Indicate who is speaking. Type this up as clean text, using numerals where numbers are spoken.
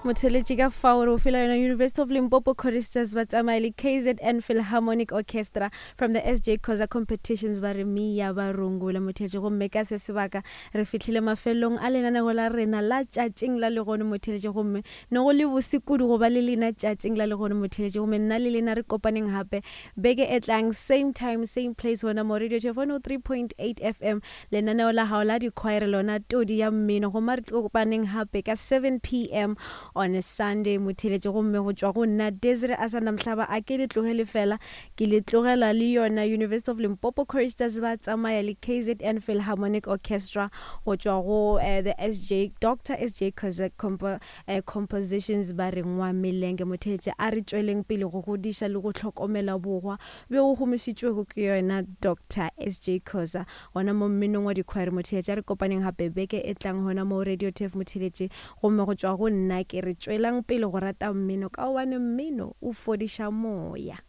Speaker 1: Motheletši ka fao re o fela yona University of Limpopo Choristers ba tsamaya le KZN Philharmonic Orchestra from the SJ Khoza Competitions ba re Mia ba rungula motheletši. Gomme ka se sebaka re fihlile mafelelong a lenanego la rena la tšatšing la legono motheletši. Gomme ne go le bose kudu go ba le lena tšatšing la legono motheletši. Gomme nna le lena re kopaneng gape beke e tlang same time same place gona mo Radio 103.8 FM Lenaneo la gago la dikhwaere lona todi ya mmino goma re tlo kopaneng gape ka 7 pm on a Sunday motheletše gomme go tšwa go nna Desire Asanda Mhlaba a ke le tlogele fela ke le tlogela le yona University of Limpopo Choristers ba tsamaya le KZN Philharmonic Orchestra go tšwa go uh, the SJ Dr SJ Kozak compo, uh, compositions ba re ngwa melenge motheletše a re tšweleng pele go godiša le go hlokomela bogwa bjo bo gomišitšwego ke yona Doctor SJ Khoza gona mo mminong wa dikhwaere Motheletši. A re kopaneng gape beke e tlang gona mo Radio Turf Motheletši. Gomme go tšwa go nna ke re tšwelang pele go rata mmino ka gobane mmino o fodiša moya.